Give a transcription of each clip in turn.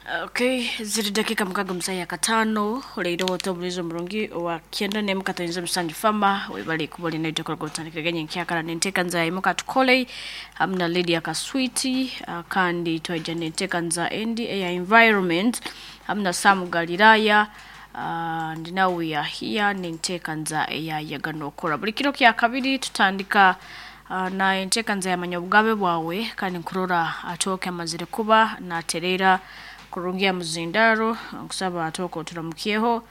Okay, ziri dakika 65 oleire wote obulizo omurungi wa 91.7 fama webale kuba olina itekola gotandika genye nkyakala nenteeka imuka tukole hamwe na Lydia Kaswiti kandi twaija nenteeka nza endi eya environment hamwe na Sam Galilaya and now we are here nenteeka nza eya yagano okora buli kiro kya kabiri tutandika na enteeka nza yamanya obugabe bwawe kandi nkurora atooke amazire kuba natereera kurungia muzindaro nkusaba atooke oturamukyeho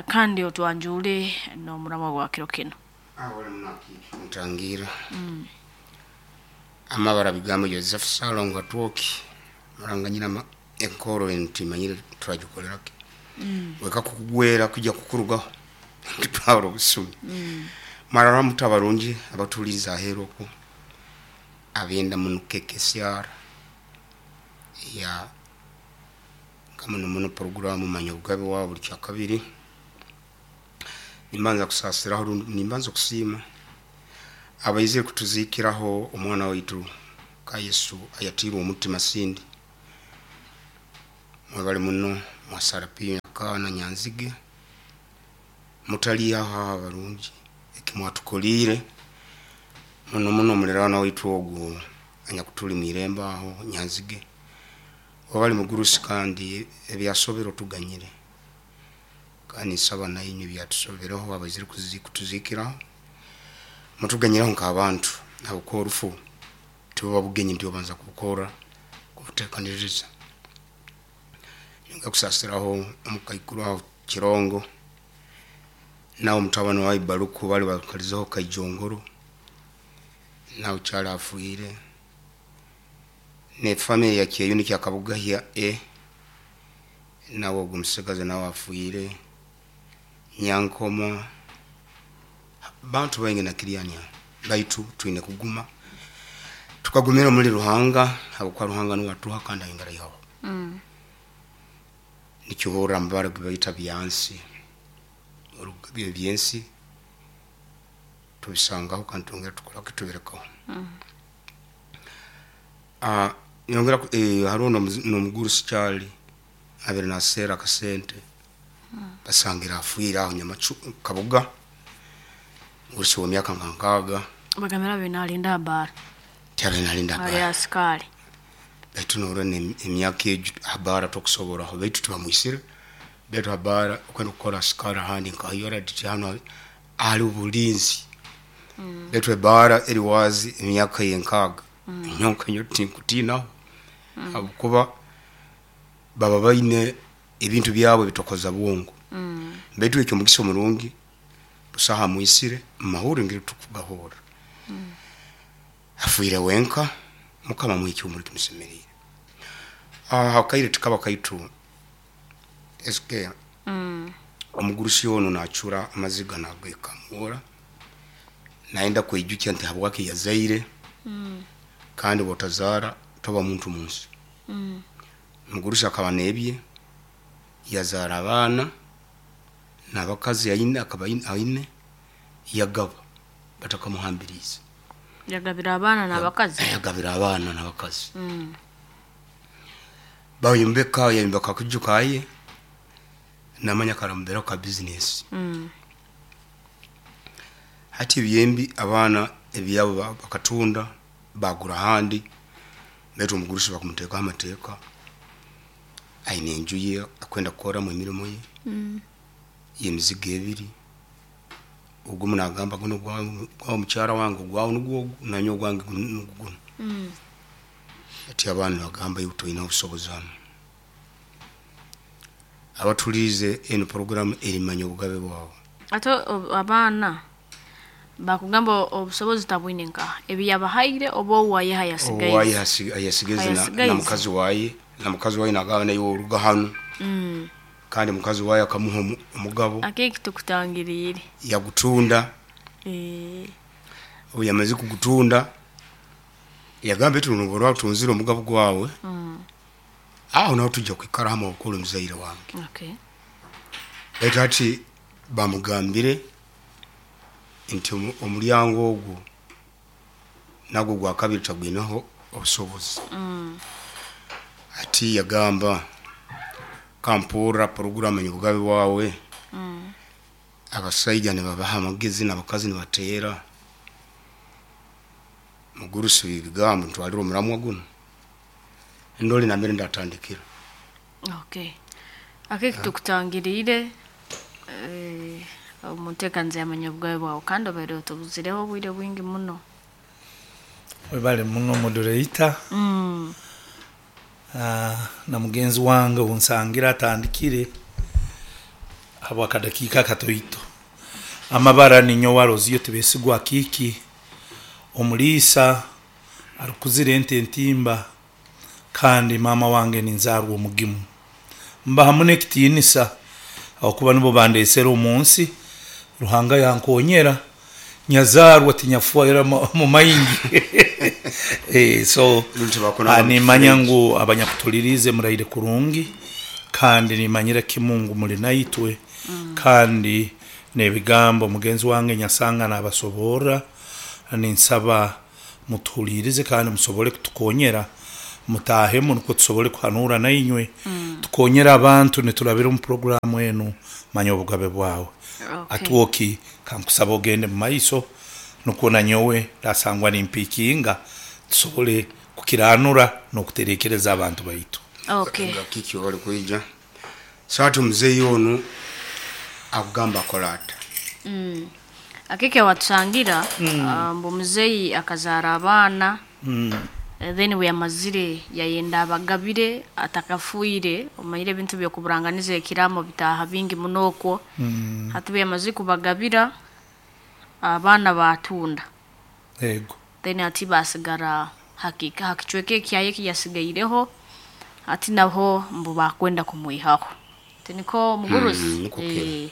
kandi otwanjure n'omurama gwa kiro kino. Ntangira amabara bigambo Joseph Salongo Atwoki muranganyira enkoro ntimanyire turagikorerake weka kukugwera kujya kukurugaho kitwara obusumi marara mutabarungi abatuliza ahero ko abenda munukeke syara ya kama muno programu manya obugabe wa buli kya kabiri nimbanza kusasiraho nimbanza kusiima abaizire kutuzikiraho omwana waitu ka Yesu ayatirwe omutima sindi mwebale muno mwasarapia kana nyanzige mutali aho abarungi ekimwatukolire muno muno mulirana waitu ogwo anyakutuli mwiremba aho nyanzige wabali mugurusi kandi ebyasobero tuganyire kandi nsaba nayinywe byatusobereho abaizire kutuzikiraho mutuganyiraho nk'abantu habwokuba orufu tibuba bugenyi nti obanza kubukora kubuteekaniriza. Nyongera kusasiraho omukaikuru aho Kirongo nawe omutabani wawe Baruku bali bakalizeho Kaijongoro nawe kyali afiire ne family ya Kyeyuni kya Kabugahya e nawe ogwo omusigazi nawe afiire Nyankoma bantu baingi na Kiriania baitu twine kuguma tukagumira muri Ruhanga habwokuba Ruhanga niwe atuha kandi ayongera aihaho. Nikihurra mubara gubaita byansi ebyensi tubisangaho kandi twongera tukoraki tubirekaho. Nyongera hariho n'omugurusi kyali abire naseera akasente basangira afiire aho Nyamacu Kabuga omugurusi w'emyaka nka 6 Bagambira abe nalinda abaara tyabire nalinda ali abaara asikari baitu norora emyaka egyo abaara tokusoboraho baitu tibamwisire baitu abaara okwenda kukora asikari ahandi nka yoradi hanu ahali obulinzi baitu ebaara eri waazi emyaka ye 6 nyonka nyowe tinkutiinaho habwokuba baba baine ebintu byabo bitokoza bwongo baitu ekyo omugisa omurungi busaho amwisire mumahurre ngeri tukugahurra afiire wenka mukama amuhe ekihuumuro kimusemeriire. Akaire tikaba kaitu SK omugurusi onu nacura amaziga nagekamura nayenda kweijukya nti habwaki yazaire kandi bwotazaara toba muntu munsi. Omugurusi akaba nebye yazaara abaana n'abakazi aine akaba aine yagaba batakamuhambiriize. Yagabira abaana n'abakazi. Yagabira abaana n'abakazi. Bayombeka yayombeka akaju kaye namanya karamuberaho ka bizinesi. Hati ebyembi abaana ebyabo bakatunda bagura ahandi baitu omugurusi bakumuteekaho amateeka aine enju ye akwenda kukoramu emirimo ye y'emizigo ebiri ogumu nagamba gunu gwawe mukyara wange ogwawe nugwo ogu nanyowe ogwange nugwo gunu. Hati abaana nibagamba iwe toine obusobozi hanu. Abatuliize enu programu erimanya obugabe bwawe. Ate abaana bakugamba obusobozi tabwine nkaha ebi yabahaire oba owaye owaye hayasigaize ayasigaize na mukazi waye nagamba naiwe oruga hanu kandi mukazi waye akamuha omugabo akeki tukutangiriire yagutunda obu yamaze kugutunda yagamba eti noba watunzire omugabo gwawe aho naho tujja kwikara hamu habwokuba oli muzaire wange. Baitu hati bamugambire nti omulyango ogwo nagwo gwa kabiri tagwineho obusobozi. Hati yagamba Nkampurra puroguramu Manya Obugabe Bwawe, abasaija nibabaha amagezi n'abakazi nibateera. Mugurusi w'ebigambo ntwalire omuramwa gunu, ndole nambere ndatandikira. Okay. Ake tukutangiriire omu nteekaniza ya Manya Obugabe Bwawe kandi obaire otubuzireho obwire bwingi muno. Webale muno moderator na mugenzi wange ou nsangire atandikire habw'akadakiika akatoito. Amabara ninyowe Aloziyo Tibesigwa Akiiki, omuliisa arukuzira ente entimba kandi maama wange ninzaarwa Omugimu. Mbaha muno ekitiinisa habwokuba nibo bandeesere omu nsi, Ruhanga yankonyera nyazaarwa tinyafwera mu maingi. So Rundi tibakunanga mu nimanya kifuro eki. ngu abanyakutuliriize muraire kurungi kandi nimanyira kimu ngu muli naitwe kandi n'ebigambo mugenzi wange nyasanga nabasoborra, ninsaba mutuhuliirize kandi musobole kutukonyera mutaahemu nukwo tusobole kuhanuura nainywe tukonyere abantu niturabira omu puroguramu enu Manya Obugabe Bwawe. Okay. Atwoki kankusaba ogende mu maiso nukwo nanyowe ndasangwa nimpiikinga tusobole kukiranura n'okuterekereza abantu baitu. Okay. Nga kiki oli kwija. So hati omuzeeyi onu akugamba akole ata? Akeke watusangira mbu muzeeyi akazaara abaana then bwe yamazire yayenda abagabire atakafiire. Omanyire ebintu by'okuburanganiza ekiraamo bitaaha bingi muno okwo. Hati bwe yamazire kubagabira abaana baatunda. Ego. Then hati baasigara ha kicweka ekyaye eki yasigaireho, hati naho mbu baakwenda kumwihaho. Tiniko mugurusi? Nukwo kiri.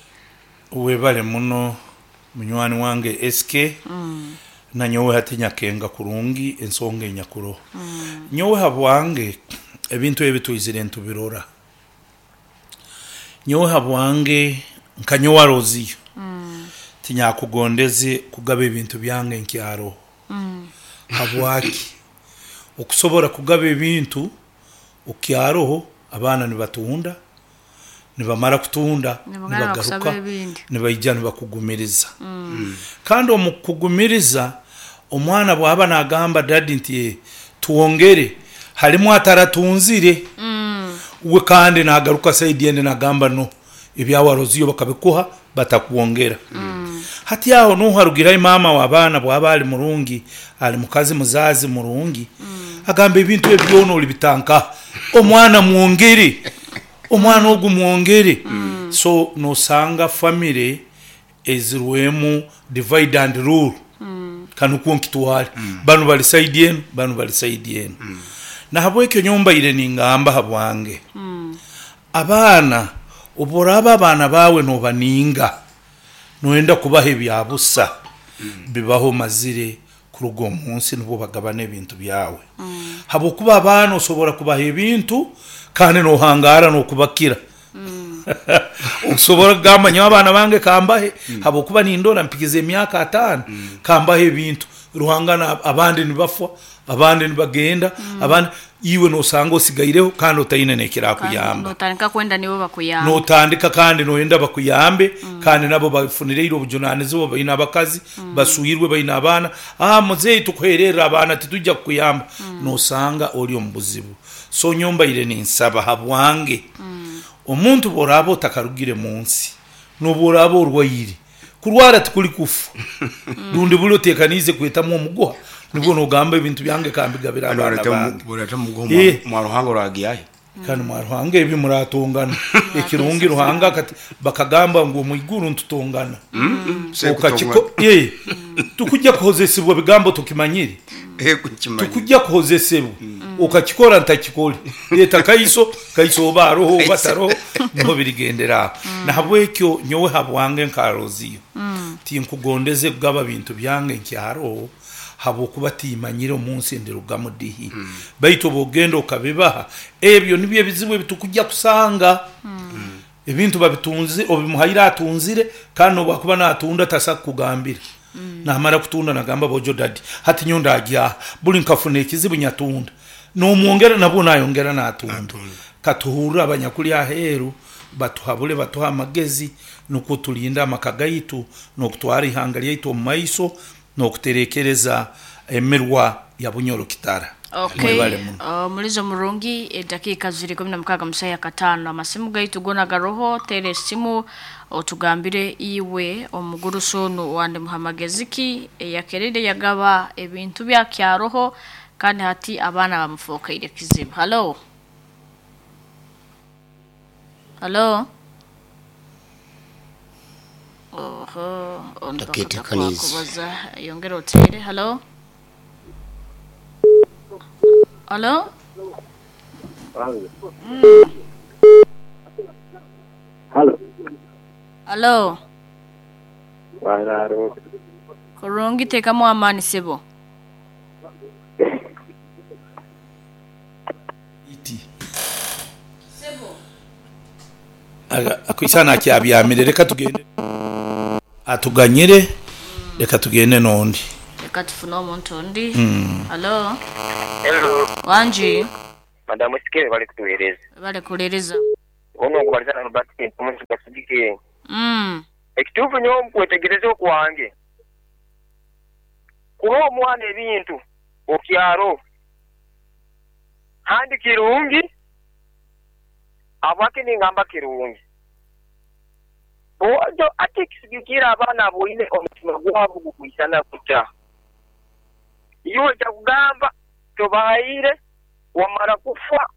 Webale muno munywani wange SK. Nanyowe hati nyakenga kurungi ensonga enyakuroho. Nyowe habwange ebintu ebi twizire nitubirora. Nyowe habwange nka nyowe Aroziyo tinyakugondeze kugaba ebintu byange nkyaroho. Habwaki? Okusobora kugaba ebintu okyaroho abaana nibatunda, nibamara kutunda Nibagana nibagaruka bakusaba ebindi. nibaija nibakugumiriza. Kandi omu kukugumiriza omwana bwaba nagamba dadi nti twongere halimu ataratunzire we kandi nagaruka saidi endi nagamba no ebyawe Aroziyo bakabikuha batakwongera. Hati aho nuho harugirayo maama w'abaana bwaba ali murungi, ali mukazi muzazi murungi, agamba ebintu ebi byona olibitankaha, omwana mwongere, omwana ogu mwongere. So nosanga famire ezirwemu divide and rule, kanukwo nkitwale, banu bali saidi enu, banu bali saidi enu. Nahabwekyo nyowe mbaire ningamba habwange, abaana obu oraaba abaana baawe nobaninga, noyenda kubaha ebya busa, bibaho omazire kuruga omu nsi nubwo bagabana ebintu byawe. Habwokuba abaana osobora kubaha ebintu kandi nohangaara n'okubakira. Osobora kugamba nyowe abaana bange kambahe habwokuba nindora mpikize emyaka ataano kambahe ebintu. Ruhanga abandi nibafwa, abandi nibagenda, abandi iwe nosanga osigaireho kandi otaine n'ekirakuyamba. Notandika kwenda nibo bakuyambe. Notandika kandi noyenda bakuyambe kandi nabo bafunire ira obujunanizibwa, baine abakazi, baswirwe, baine abaana. Muzeeyi tukuhererre abaana titwija kukuyamba. Nosanga ori omu buzibu. So nyowe mbaire ninsaba habwange, omuntu bworaaba otakarugire mu nsi, n'obworaaba orwaire, kurwara tikuri kufa. Rundi buri otekaniize kwetamu omuguha, nibwo nogamba ebintu byange kambigabire abaana bange. Bworeta omuguha mwa Ruhanga oragihayo. Kandi mwa Ruhanga ebi muratongana. Ekirungi Ruhanga akati bakagamba ngu omu iguru nitutongana. Okakiko tukujja kuhozesibwa bigambo tukimanyire. Tukujja kuhozesebwa okakikora ntakikore. Leeta kaiso, kaiso oba aroho oba taroho niho birigendera aho. Nahabwekyo nyowe habwange nka Roziyo tinkugondeze kugaba bintu byange nkyaroho habwokuba timanyire omu nsi ndirugamu dihi. Baitu obwogenda okabibaha, ebyo nibyo ebizibu ebitukujja kusanga. Ebintu babitunzire, obimuhaire atunzire, kandi n'obwakuba natunda tasa kukugambira. Namara kutunda nagamba bojo dadi, hati nyowe ndagyaha, buli nkafuna ekizibu nyatunda. Nomwongera nabwo nayongera natunda. Katuhurre abanyakuli aheeru batuhabule, batuhe amagezi nukwo tulinde amaka gaitu n'okutwara ihanga lyaitu omu maiso n'okuterekereza emirwa ya Bunyoro Kitara. Okay. Mwebale muno. Omulizo murungi, edakiika ziri 16 musayi akataano. Amasimu gaitu gona garoho, teera esimu otugambire iwe omugurusi onu wandi muha magezi ki eyakerire yagaba ebintu bya kyaroho kandi hati abaana bamufokeire kizibu. Halo. Halo. Oho, onu Taketekaniize. bakakubaza yongera otere. Halo. Halo. Halo. Halo. Wararo. Kurungi tekamu amaani sebo. Iti. Akwisana akyabyamire, reka tugende atuganyire, reka tugende n'ondi. Reka tufune omuntu ondi. Halo. Hello. Wangi. Madamu Sikere bali kutuhereza. Bale kulereza. Ono okubaliza na Robert omuntu gasigike. Ekituufu nyowe mukwetegereza okwange. Kuba omwana ebintu okyaro. Handi kirungi abake ningamba kirungi. Ojo ate kisigikira abaana aboine omutima gwabo gukwisana kuta. Iwe kyakugamba tobahaire wamara kufa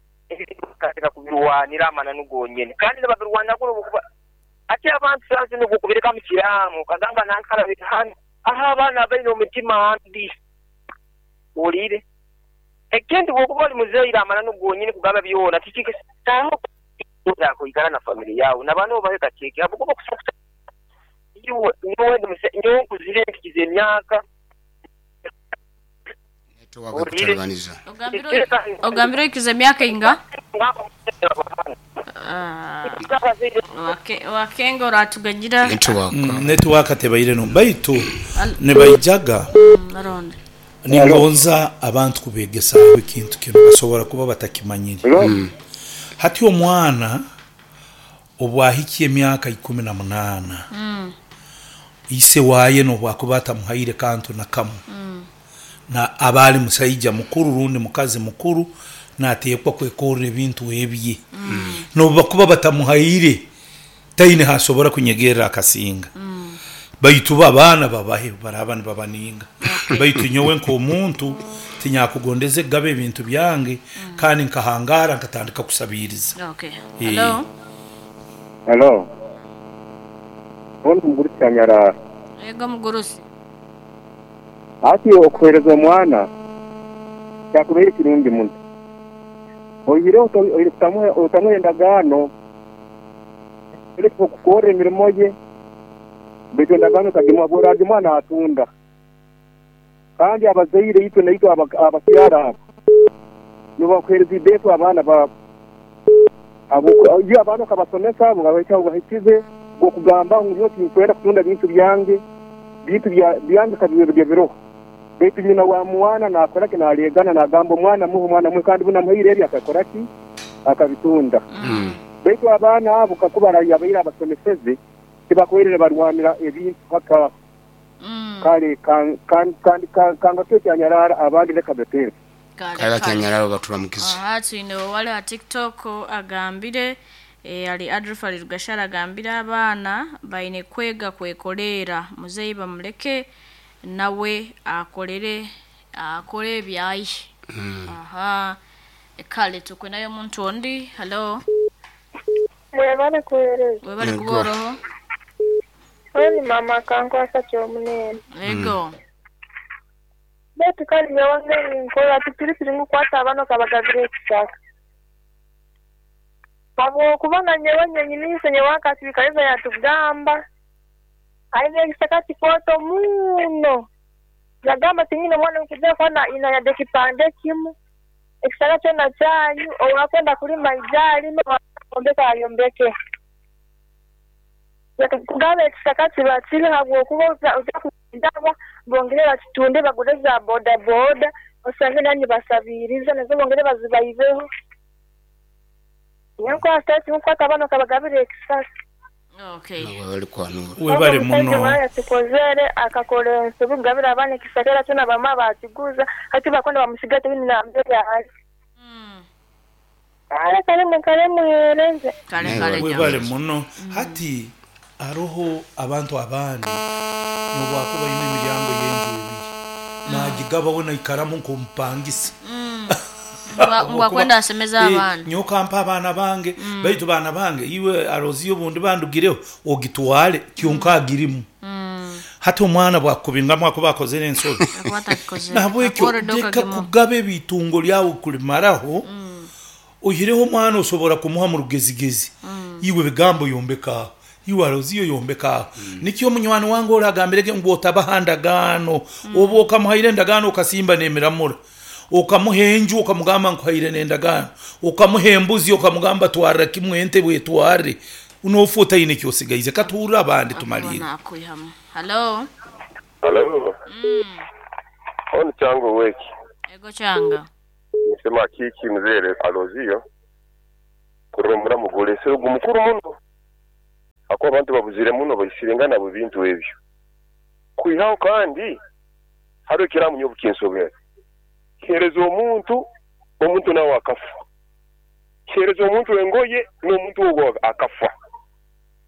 katika kubirwanira amananu gonyene kandi nibabirwanira kuno kuba ate abantu sasa nokubireka mu kiraamo kagamba nankala bitano aha abaana baine omutima mbi olire ekindi bwokuba oli muzeire amananu gonyene kugamba byona tikikisitaho kuikara na family yawe nabaana obahe kakeke abukuba kusokuta iwe nyowe nkuzire nkikiza emyaka Network kutalibaniza. Ogambire oikiza emyaka inga? Wakenga oratuganyira. Network. Network tebaire no baitu nibaijaga Aronde. ningonza abantu kubegesaho ekintu kinu basobora kuba batakimanyire. Hati omwana obwahikiye emyaka 18 ise waye nobwakuba atamuhaire kantu na kamu na abali musaija mukuru rundi mukazi mukuru nateekwa kwekorra ebintu ebye nobubakuba batamuhaire taine hasobora kunyegerera akasinga. Baitu abaana babahe baraba nibabaninga. Baitu nyowe nk'omuntu tinyakugondeze gaba ebintu byange kandi nkahangara nkatandika kusabiriza. Okay. Hello. Hello. Ono mugurusi anyara. Ego mugurusi. Ati okuhereza omwana kyakubeera kirungi muno. Oihire otamuha endagaano okukora emirimo ye baitu endagaano tagimuha bw'oragimuha naatunda. Kandi abazaire itwe naitwe abakyara abo nibakuhereza ibeetu abaana baabo. Iyo abaana okabasomesa bahikize okugamba ngu nyowe tinkwenda kutunda bintu byange, bintu byange kabibe biroho. Baitu nyina wa mwana nakora ki nalegana nagamba omwana muhe omwana muhe kandi bunamuhaire ebi akakora ki akabitunda. Baitu abaana abo kakuba yabaire abasomeseze tibakuhaire barwanira ebintu haka. Kale kanga kyo kyanyarara abandi leka betere. Kale kyanyarara baturamukize. Aha twine wale ha TikTok agambire ali Adolf ali Rugashara agambire abaana baine kwega kwekolera muzeyi bamuleke nawe akolere akole ebyayi. Aha kale tukwe nayo muntu ondi. Hello. Mwebale kuhereza. Mwebale kuboroho. Weni mama kankwasa kyomunene. Ego. Baitu kandi nyowe nkola tikiri ngukwata abaana kabagabira ekisaka. Habwokuba nyowe nyenyini nyowe akasirikaliza yatugamba aine ekisaka kikooto muno. Yagamba tinyine omwana nkuja kwana inayade ekipande kimu ekisaka kyona kyanyu owakwenda kulima ija alime owombeka ayombeke. Kugaba ekisaka kiba kiri habwokuba oja kugaba bongere bakitunde bagure za boda boda osange nanyi basabiriza nazo bongere bazibaibeho. Nyowe nkwata eki nkukwata abaana okabagabira ekisasi. Okay. Nawe webale kwanura. Ogwo Webale omusaija muno. omwana yakikozere akakora ensobi kugabira abaana ekisaka era kyona bamwe bakiguza hati bakwenda bamusiga tihaine nambere ari. Kale kale mwikare muhereze. Kale Nawe kale Webale jambo. muno. Hati haroho abantu abandi nobwakuba aine emiryango y'enju ebiri nagigaba we naikaramu nk'omupangisa. Ngu Habwokuba akwenda asemeze abaana. nyowe okampa abaana bange baitu baana bange iwe aroziyo obundi bandugireho ogitwale kyonka agirimu. Hati omwana bwakukubingamu akuba akozere ensobi. Akuba atakikozere. Nahabwekyo Akuba already leka okagimuha. kugaba ebiitungo lyawe kulimaraho, oihireho omwana osobora kumuha mu rugezigezi. Iwe ebigambo yombeka aho, iwe aroziyo yombeka aho. Nikyo omunywani wange ori agambirege ngu otabaha ndagaano. Obu okamuhaire endagaano okasimba n'emiramura, okamuha enju okamugamba nkuhaire n'endagaano, okamuha embuzi okamugamba twarra kimwe ente bwetwarre, nofa otaine eki osigaize. Katuhurre abandi Akuba tumalirre. nakwihamu. Hallo. Halo, onu Kyanga oweki? Ego Kyanga. Nisema kiki mzee Alozio kurora omuramu gulesere ogu mukuru muno ahakuba abantu babuzire muno baisirengana habw'ebintu ebyo. Kwihaho kandi hariho ekiramu nyowe obukinsobera. Kihereza omuntu, omuntu nawe akafa. Kihereza omuntu engoye n'omuntu ogwo akafa.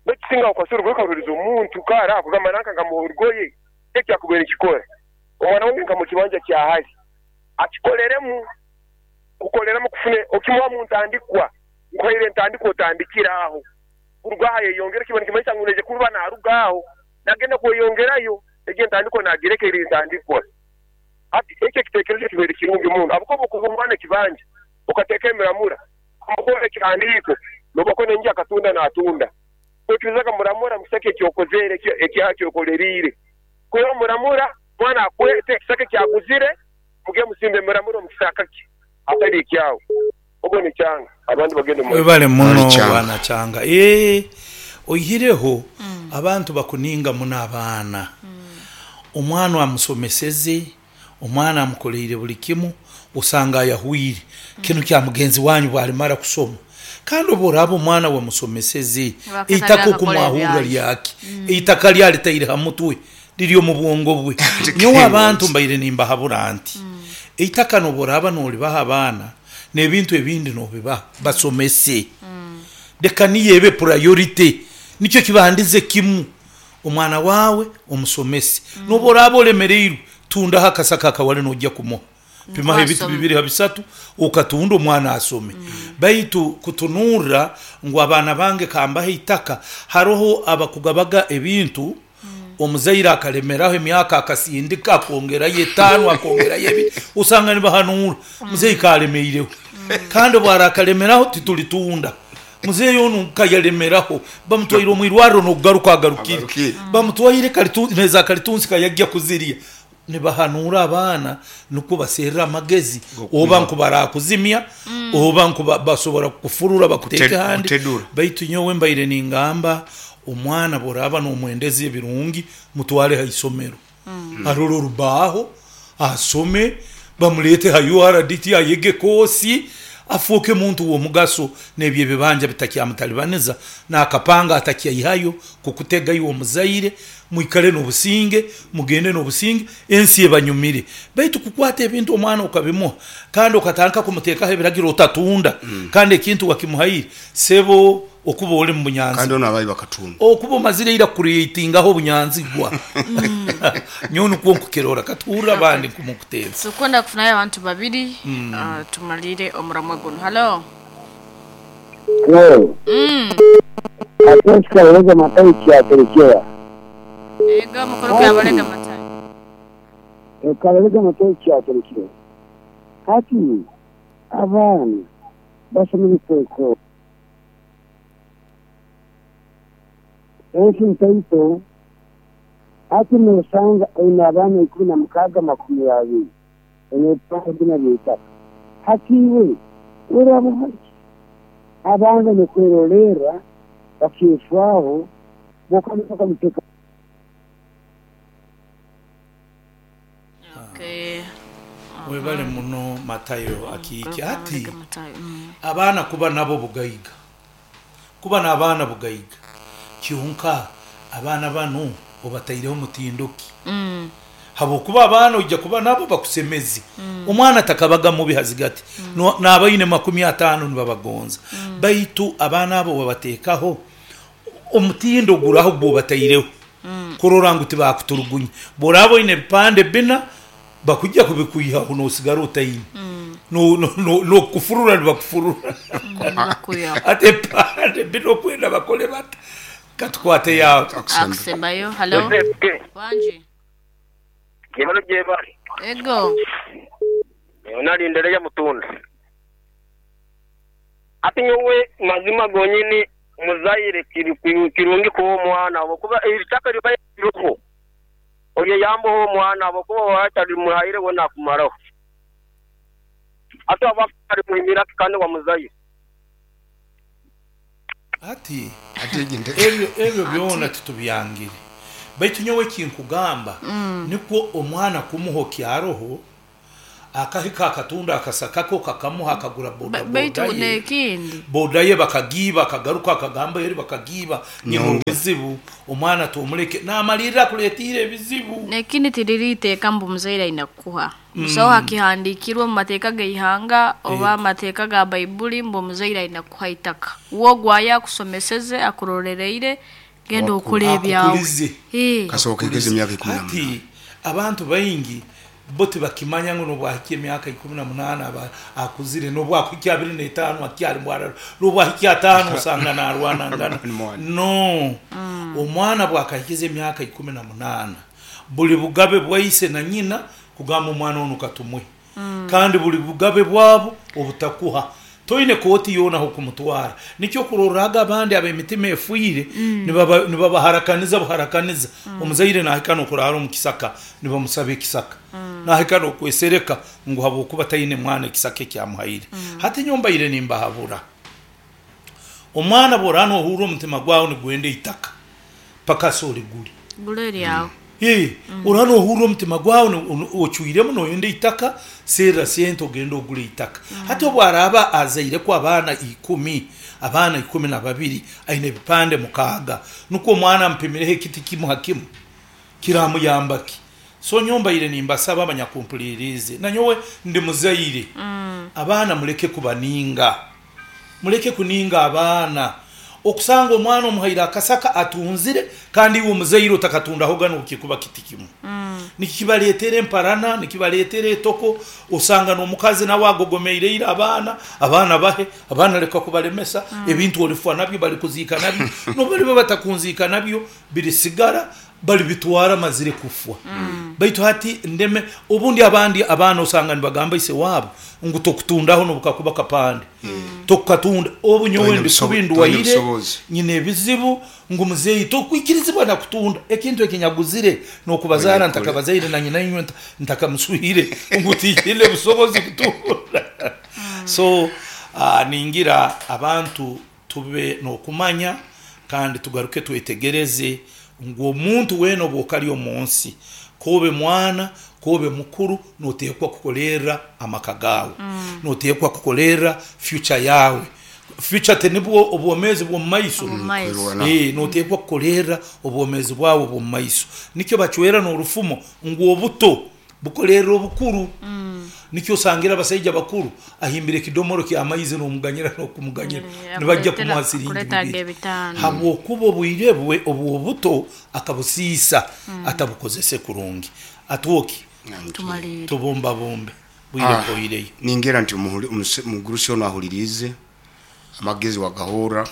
Baitu singa okwasa orugoye okaruhereza omuntu kare akugamba nanka nkamuha orugoye, eki akubaire nikikora. Omwana wange nkamuha ekibanja kya hali akikoleremu, kukoleramu kufuna okimuha mu ntandikwa, nkuhaire entandikwa otandikire aho. Kuruga aho ayeyongere kiba nikimanyisa ngu naija kuba naruga aho nagenda kweyongerayo, egyo entandikwa nagireka eri entandikwa. Hati ekyo ekitekerezo kibaire kirungi muno ahabw'okuba obu okuha omwana ekibanja okateeka emiramura, omuha ekihandiiko, noba ko n'enju akatunda natunda. Oikirizaga muramura mu kisaka eki okozere, eki okoleriire. Kwihaho muramura, omwana akwete ekisaka eki aguzire, mugende musimbe emiramura omu kisaka kye hatari ekyawe. Ogwo ni Kyanga, abandi bagende omu maiso. Webale Webale muno Kyanga. bwana Kyanga. Eeh oihireho abantu bakuninga muno abaana. Omwana amusomeseze, omwana amukoleire buli kimu, osanga ayahwire. Kinu kya mugenzi wanyu bwalimara kusoma. Kandi obu oraaba omwana wamusomeseze, Nibaketaga eitaka akakora okumwahurra ebyangye. lyaki? Eitaka lyalitaire ha mutwe, liri omu bwongo bwe. Nyowe abantu mbaire nimbahabura nti, eitaka n'obu oraaba nolibaha abaana, n'ebintu ebindi nobibaha, basomese. Leka niyo ebe purayorite, nikyo kibandize kimu. Omwana waawe omusomese. N'obu oraaba olemereirwe, tundaho akasaka akawali noija kumuha. Pimaho ebiti bibiri ha bisatu okatunda omwana asome. Baitu kutunurra ngu abaana bange kambahe eitaka, haroho abakugabaga ebintu, omuzaire akalemeraho emyaka akasindika akongerayo etaano akongerayo ebiri, osanga nibahanuura muzeeyi kaalemeireho. Kandi obu arakalemeraho titulitunda. Muzeeyi onu kayalemeraho bamutwaire omu irwariro n'okugaruka agarukire. Agarukire. Bamutwaire neza kalitunsi kayagya kuzirya. Nibahanuura abaana nukwo baserre amagezi oba nku barakuzimya oba nku basobora kukufurura bakuteeke handi. Kutedura. Baitu nyowe mbaire ningamba omwana bworaaba nomwendeza ebirungi mutwale ha isomero arole orubaho asome bamuleete ha URDT ayege koosi afooke muntu w'omugaso n'ebyo ebibanja bitakyamutalibaniza n'akapanga atakyaihayo kukutega iwe omuzaire Mwikale n'obusinge, mugende n'obusinge, ensi ebanyumire. Baitu kukwata ebintu omwana okabimuha kandi okatandika kumuteekaho ebiragiro otatunda kandi ekintu wakimuhaire, sebo okuba oli mu Kandi bunyanzigwa. onu abayi bakatunda. Okuba omazire ira kucreatingaho obunyanzigwa. Nyowe nukwo nkukirora. Katuhurre abandi nkumukuteeza. Tukwenda kufunayo abantu babiri tumalire omuramwa gunu. Halo. Hello. Ate kikabalega Matayo kyaterekyera. Ego mukuru Kabalega Matayo. Kabalega Matayo kyaterekyera. Hati abaana basomere kwekora. Ensi ntaito, hati nosanga oine abaana 16 20 oine ebipande bina by'eitaka. Hati iwe orabaha ki? Abandi n'okwerolerra bakecwaho boka. Okay. Webale muno Matayo akiiki. Hati Matayo. abaana kuba nabo bugaiga. Kuba n'abaana bugaiga. Kyonka abaana banu obataireho mutindo ki? Habwokuba abaana oija kuba nabo bakusemeze. Omwana takabaga mubi hazigati, n'abaine 50 nibabagonza. Baitu abaana abo wabateekaho omutindo guraha ogu obataireho kurora ngu tibakuturugunya. Bworaaba oine ebipande bina, bakwija kubikwihaho nosigara otaine. N'okukufurura nibakufurura. Nibakwihaho. Hati ebipande bina okwenda bakole bata? Katukwate yaawe. Akusembayo. Halo. Wangi. Yebale gyebale. Ego. Nyowe nalindereya mutunda. Hati nyowe mazima gonyini muzaire kirungi kuha omwana habwokuba eitaka ribaire ririho oryeyambeho omwana habwokuba waba otarimuhaire we nakumaraho. Hati waba otarimuhimira kandi wamuzaire. Hati ebyo ebyo byona titubyangire, baitu nyowe eki nkugamba nikwo omwana kumuha okyaroho, akahika akatunda akasaka ke okakamuha akagura boda Baitu boda ye, n'ekindi boda ye bakagiiba akagaruka akagamba eri bakagiiba nyine Nyonge. obuzibu, omwana tomuleke namalirra akuleetiire ebizibu. N'ekindi tiriri iteeka mbu omuzaire aine kukuha. Busaho hakihandiikirwe omu mateeka g'eihanga oba amateeka ga Baibuli mbu omuzaire aine kukuha eitaka. We ogwo aye akusomeseze, akurolereire, genda okole ebyawe. Akukulize. Ee. Kasooka ekeze Akukulize. emyaka 18. Hati abantu baingi bo tibakimanya ngu n'obu ahikya emyaka 18 aba akuzire, n'obu akuhikya 25 akyali mwarara, n'obu ahikya 5 osanga naarwanangana. Ni mwana. No, omwana bwakahikiza emyaka 18 buli bugabe bwa ise na nyina kugamba omwana onu katumuhe. Kandi buli bugabe bwabo obutakuha. Toine kooti yoona ah'okumutwara. Nikyo kurorraga abandi ab'emitima efiire nibabaharakaniza buharakaniza. Omuzaire nahika n'okuraara omu kisaka nibamusaba ekisaka. Nahika n'okwesereka ngu habwokuba taine mwana ekisaka ekyamuhaire. Hati nyowe mbaire nimbahabura. Omwana bw'oraaba nohurra omutima gwawe nigwenda eitaka, pakasi origure. Gura eryawe. Oraaba nohurra omutima gwawe ocwiremu noyenda eitaka, serra sente ogende ogure eitaka. Hati obu araaba azaireku abaana ikumi, abaana 12, aine ebipande 6, nukwo omwana amupimireho ekiti kimu ha kimu, kiramuyamba ki? So nyowe mbaire nimbasaba abanyakumpuliriize, nanyowe ndi muzaire, abaana muleke kubaninga. Muleke kuninga abaana. Okusanga omwana omuhaire akasaka atunzire kandi iwe omuzaire otakatundahoga n'obukikuba kiti kimu. Nikibaleetera emparana, nikibaleetera etoko, osanga n'omukazi nawe agogomeire ira abaana, abaana bahe, abaana leka kubalemesa, ebintu olifwa nabyo balikuziika nabyo, n'obu baliba batakunziika nabyo birisigara balibitwara mazire kufwa. Baitu hati ndeme, obundi abandi abaana osanga nibagamba ise waabo ngu tokutundaho n'obukakuba kapande, tokukatunda. Obu nyowe Toine ndi kubi toine ndwaire, busobozi. nyine ebizibu, ngu muzeeyi tokwikirizibwa na kutunda ekintu eki nyaguzire n'okubazaara Oine kukora. ntakabazaire na nyina inywe ntakamuswire ngu tinyine busobozi kutunda. So ningira abantu tube n'okumanya kandi tugaruke twetegereze ngu omuntu weena obu okari omu nsi, k'obe mwana, k'obe mukuru, noteekwa kukolerra amaka gaawe, noteekwa kukolerra future yaawe. Future tinibwo obwomeezi bw'omu maiso? Omu maiso. Kwerwana. Noteekwa kukolerra obwomeezi bwawe obw'omu maiso. Nikyo bacwera n'orufumo ngu obuto bukolerra obukuru. Nikyo osangira abasaija bakuru ahimbire ekidomoro ky'amaizi n'omuganyira n'okumuganyira nibajja kumuha siringi Akuleeteraga bibiri. 5. Habwokuba obwire bwe obw'obuto akabusiisa atabukozese kurungi. Atwoki Tumaliire. tubumbabumbe bwire buhoireyo. Ningira nti omugurusi onu ahuliriize amagezi wagahurra.